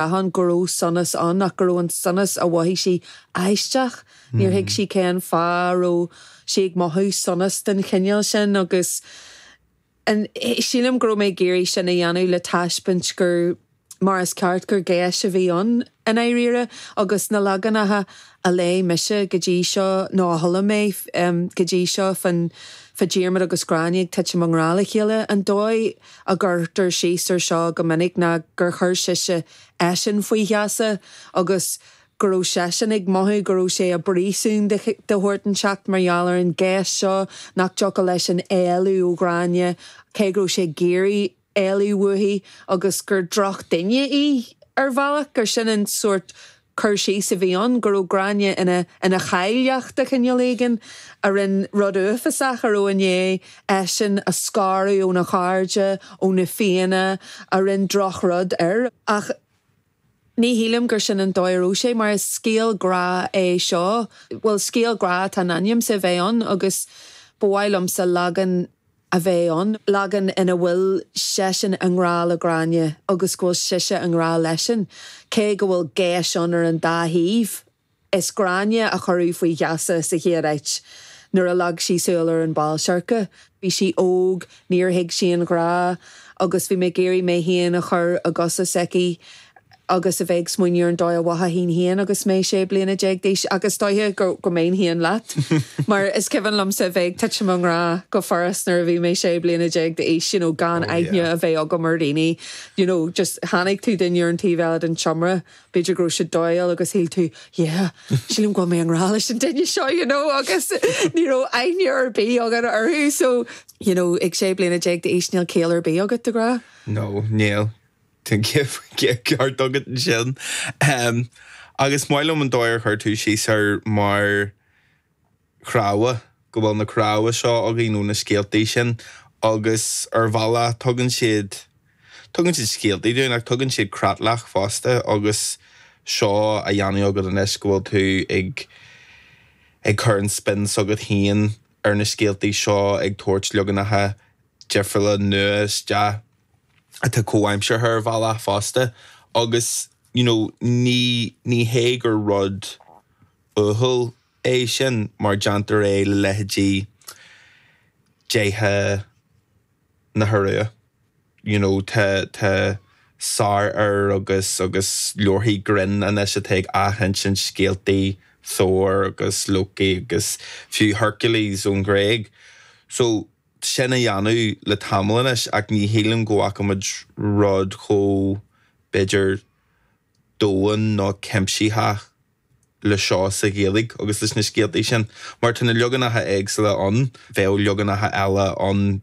Ann go raibh sonas ann ach go raibh an sonas a mhothaigh sí aisteach. Níor thuig sí cén fáth a raibh sí ag mothú sonas den chineál sin agus sílim go raibh mé ag iarraidh sin a dhéanamh le taispeáint gur mar is ceart gur geis a bhí ann i ndáiríre agus na leaganacha a léigh mise go dtí seo nó a chuala mé go dtí seo fán fá Diarmaid agus Gráinne ag titim i ngrá le chéile, an dóigh a gcuirtear síos ar seo go minic ná gur chuir sise eisean faoi gheasa agus go raibh seisean ag mothú go raibh sé i bpríosún de shórt inteacht mar gheall ar an gheis seo nach dtiocfadh leisean éalú ó Ghráinne cé go raibh sé ag iarraidh éalú uaithi agus gur drochdhuine í ar bhealach, gur sin an sórt cur síos a bhí ann, go raibh Gráinne ina ina chailleach de chineál éigin, a rinne rud uafásach, a raibh i ndiaidh eisean a scaradh óna chairde, ó na Fianna, a rinne drochrud air. Ach ní shílim gur sin an dóigh a raibh sé, mar is scéal grá é seo, bhuel, scéal grá atá in ainm is a bheith ann agus ba mhaith liomsa leagan a bheith ann, leagan ina bhfuil seisean i ngrá le Gráinne agus go bhfuil sise i ngrá leisean, cé go bhfuil geis ann ar an dá thaobh. Is Gráinne a cuireadh faoi gheasa sa chéad áit nuair a leag sí súil ar an bhál seirce. Bhí sí óg, níor thuig sí an grá agus bhí mé ag iarraidh mé féin a chur i gcosa s'aici. agus a bheith ag smaoineamh ar an dóigh a mhothaínn féin agus mé 16 bliana d'aois ach is dóiche go go mbeinn féin leat mar is cuimhin liomsa a bheith ag titim i ngrá go furast nuair a bhí mé 16 bliana d'aois you know gan Oh aithne yeah. a bheith agam ar dhaoine you know just chonaic tú duine ar an taobh eile den tseomra b'fhéidir go raibh siad dóighiúil agus shíl tú yeah sílim go bhfuil mé i ngrá leis an duine seo you know agus ní raibh aithne ar bith agat orthu so you know ag 16 bliana d'aois níl ciall ar bith agat do ghrá. No, níl. Tá an ceart agat ansin. Agus is maith liom an dóigh ar chuir tú síos air mar chnámha, go bhfuil na cnámha seo againn ó na scéaltaí sin agus ar bhealach tugann siad, tugann siad scéaltaí dúinn ach tugann siad creatlach fosta agus seo á dhéanamh agat anois go bhfuil tú ag, ag cur an spin s'agat féin ar na scéaltaí seo, ag tabhairt leaganacha difriúla nua isteach. atá comhaimseartha ar bhealach fosta agus you know ní ní hé gur rud uathúil é sin mar déantar é le leithéidí déithe na hIorua you know tá tá sárfhir agus agus leabharthaí grinn anois atá ag athinsint scéaltaí Thor agus Loki agus fiú Hercules ón Ghréig so sin á dhéanamh le tamall anois ach ní shílim go bhfaca muid rud chomh, b'fhéidir, domhain nó cuimsitheach le seo sa Ghaeilge agus leis na scéaltaí sin. Mar tá na leaganacha éagsúla ann, bheadh leaganacha eile ann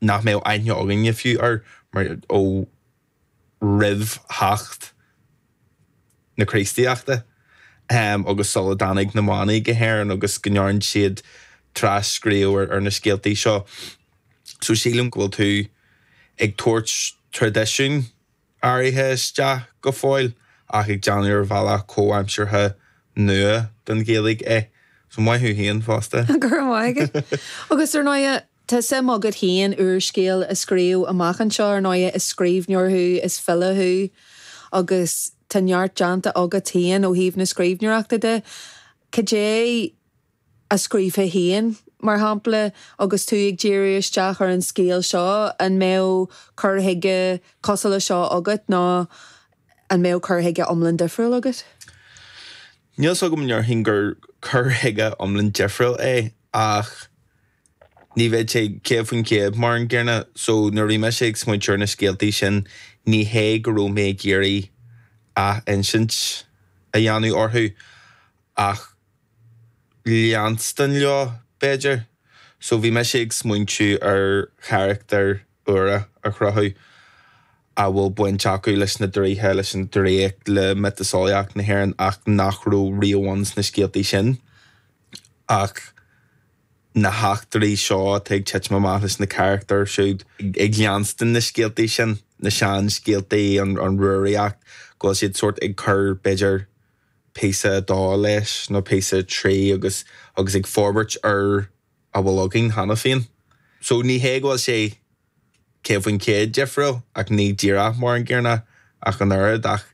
nach mbeadh aithne againne fiú air mar ó roimh theacht na Críostaíochta agus sula dtáinig na manaigh go hÉirinn agus go ndearn siad tras-scríobh ar na scéaltaí seo. So sílim go bhfuil tú ag tabhairt traidisiún áirithe isteach go fóill ach ag déanamh ar bhealach comhaimseartha nua don Ghaeilge é. So maith thú féin fosta. Go raibh maith agat. Agus ar ndóighe, Tá suim agat féin úrscéal a scríobh amach anseo, ar ndóighe, is scríbhneoir thú, is file thú agus tá neart déanta agat féin ó thaobh na scríbhneoireachta de. Cad é a scríobhfá féin, mar shampla, agus tú ag díriú isteach ar an scéal seo? An mbeadh cur chuige cosúil le seo agat nó an mbeadh cur chuige iomlán difriúil agat? Níl 's agam an ndéarfainn gur cur chuige iomlán difriúil é ach Ní bheidh sé 100% mar an gcéanna. So nuair a bhí mise ag smaointiú ar na scéaltaí sin, ní hé go raibh mé ag iarraidh ath-insint a dhéanamh orthu ach leanstan leo, b'fhéidir. So bhí mise ag smaointiú ar charachtair úra a chruthú a bhfuil baint acu leis na draoithe, leis an draíocht, le miotaseolaíocht na hÉireann ach nach raibh riamh ann sna scéaltaí sin. Ach na heachtraí seo atá ag titim amach leis na carachtair siúd, ag leanstan na scéaltaí sin, na seanscéaltaí, an Rúraíocht, go bhfuil siad sórt ag cur, b'fhéidir, píosa a dó leis nó píosa a trí agus agus ag forbairt ar a bhfuil againn cheana féin. So ní hé go bhfuil sé 100% difriúil ach ní díreach mar an gcéanna ach an oiread ach.